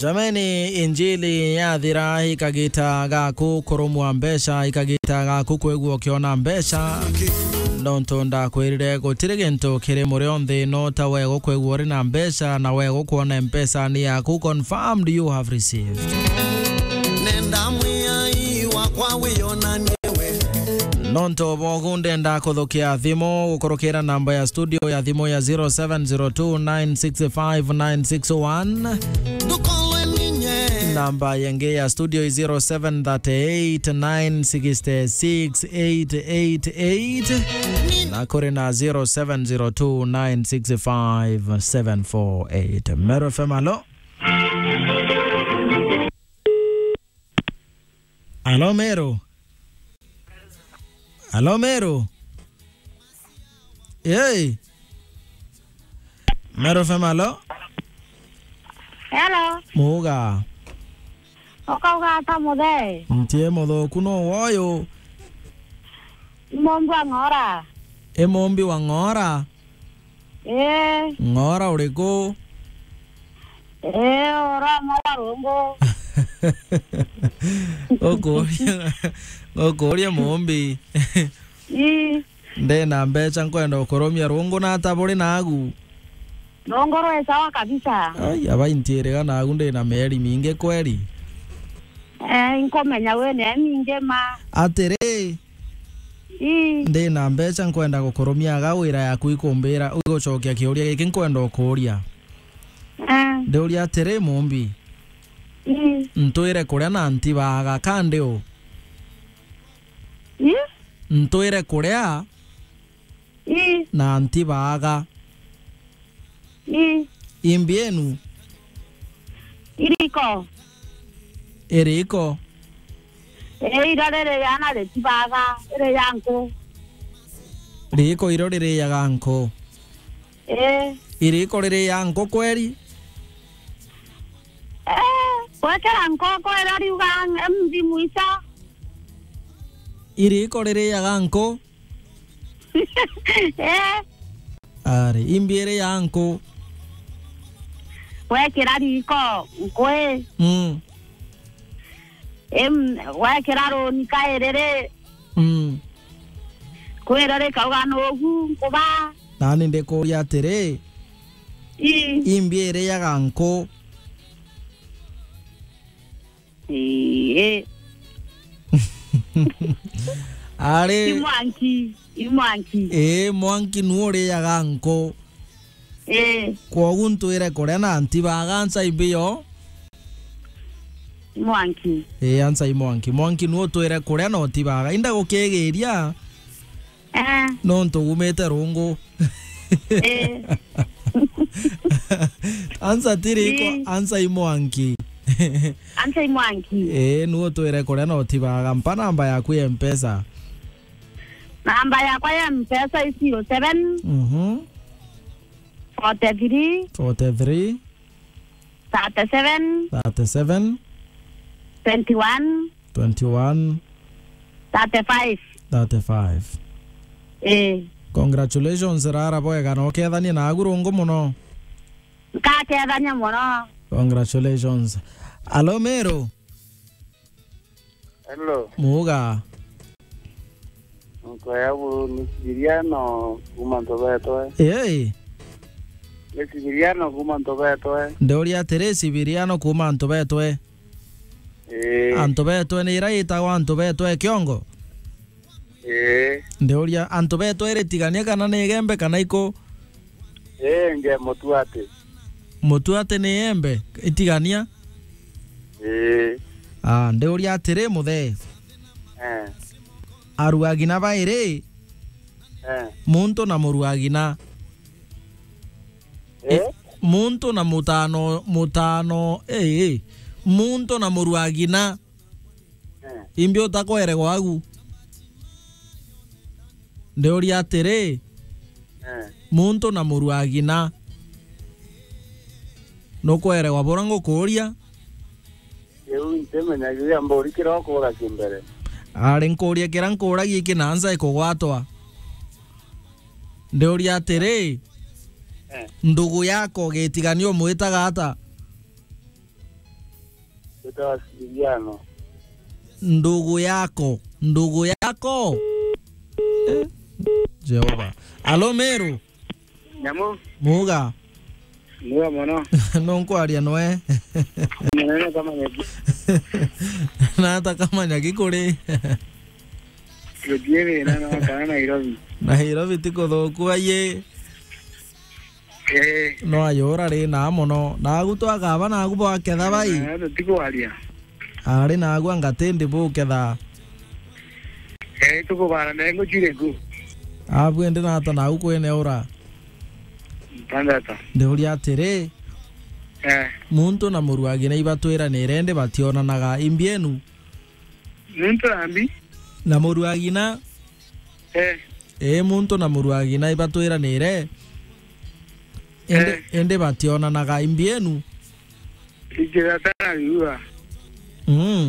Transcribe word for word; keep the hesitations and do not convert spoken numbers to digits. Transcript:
Jameni, injili yathira ikagita gaku kurumwa mbeca, ikagita gaku kwigua ukiona mbeca. Nontu ndakwirire gutiri gintu kiri murio nthi no ta we gukwigua uri na mbeca na we gukwona mpesa ni yaku. Confirmed you have received. Nenda mwiai wakwa wiyonanie we. Nontu bogu ndenda kuthukia thimu gukurukira namba ya studio ya thimu ya zero seven zero two nine six five nine six one. Namba yengi ya studio i zero seven thirty eight nine six six eight eight eight. Na kuri na zero seven zero two nine six five seven four eight. Meru F M, alo? Alo, Meru? Alo, Meru? Hey! Meru F M, alo? Hello. Muga. Ukauga ata, muthe? Ntie muthuku, no woyo? Mumbi wa Ng'ora. I Mumbi wa Ng'ora? Ee. Ng'ora uriku? Ee, uroma wa rungu. Ngukuria, ngukuria Mumbi. Ii. Ndina mbeca, nkwenda ukurumia rungu na ata buri nagu? Rungu rwi sawa kabisa. Ai, abai ntiiriga nagu ndina mieri mingi kweri? Eh, nkumenya wina mingi ma. Atiri, ii, ndina mbeca, nkwenda gukurumia aga wira yaku ikumbira, igucokia kiuria giki nkwenda ukuria. Eh. Ndiuria atiri, Mumbi, ii, ntwire kuria na ntibaga, ka ndi u? Ii? Ntwire kuria, ii, na ntibaga. Ii. Imbi enu? Iriko. Iriko? Ee, iro ririana ritibaga, iri ya nku. Riiko iro ririaga nku? Ee. Iriiko ririaga nku kweri? Ee, gwekera nkoko ira riuga mbi mwicha. Iriiko ririaga nku? Eh. Ari, imbi iri ya nku? Wekira riko, nkwi. Mm. Em, wekira runi kairiri. Mm. Kwira rikauga nugu, nkuba. Nani ndikuria atiri, ii, imbi iriaga nku? Ii. Ari. I mwanki, i mwanki. Ii, mwanki nu uriaga nku. Ii. Kwogu ntwire kuria na ntibaga, ansa imbi yo? I mwanki. Ii, ansa i mwanki. Mwanki nu utwire kuria na utibaga. Inda gukigiria. Eh. Nontu umite rungu. Eh. Ansa ti riko, ii, ansa i mwanki. Ansa i mwanki. Eh, nu utwire kuria na utibaga. Mpa namba yaku ya Mpesa. Namba yakwa ya Mpesa i zero seven, mhm, forty three, forty three, thirty seven, thirty seven, twenty one, twenty one, thirty five. Thirty five. Eh. Congratulations, rara bwega, na ukethanie na agu rungu muno. Nkakethania muno. Congratulations. Alo, Meru. Hello. Muga. Nkoya bu ni Sibiriano kuma Ntubetwe. Ei. Ni Sibiriano kuma Ntubetwe. Ndiuria atiri, Sibiriano kuma Ntubetwe. Ii. Antubetwe ni ira itagwa Antubetwe Kiongo? Ii. Ndiuria, Antubetwe iri Tigania kana ni Igembe kana iku? Ii, nge Mutuati. Mutuati ni Igembe, i Tigania? Ii. Ah, ndiuria atiri, muthe. Eh. Aruagina bairi? Eh. Muntu na muruagina. Eh? Muntu na mutano, mutano, eh, eh. Muntu na muruagina. Eh. Imbi utakweregwa agu? Ndiuria atiri, eh, muntu na muruagina, nukweregwa bura ngukuria? Riu ntimenyagiria mburi kira ukuuragia mbere. Ari nkuuria kira nkuuragia iki na nsa ikugwatwa. Ndiuria atiri, eh, ndugu yako Gitigania umwitaga ata? Ndugu yako, ndugu yako. Eh, Jehova. Alo, Meru. Nyamu. Muga. Muga mono. Nunkwaria nwe. Munene kama nyeki. Na hata kama nyaki kuri. Gutiiri na no kana Nairobi. Nairobi ti kuthuku aye. Eh. No ayura ri na mono. Nagu twakaba nagu bwaketha bai. Eh, tutikwaria. Ari nagu angatindi buketha. Eh, tukubara nengo chire ku. Abwende na hata nagu kwene ura. Ntandatu. Ndiuria atiri, eh, muntu na muruagina ibatwiranire ndi bationanaga imbienu? Muntu ambi? Na muruagina? Eh. Ii, muntu na muruagina ibatwiranire, indi, eh, indi bationanaga imbienu? Injira tana riua. Mm.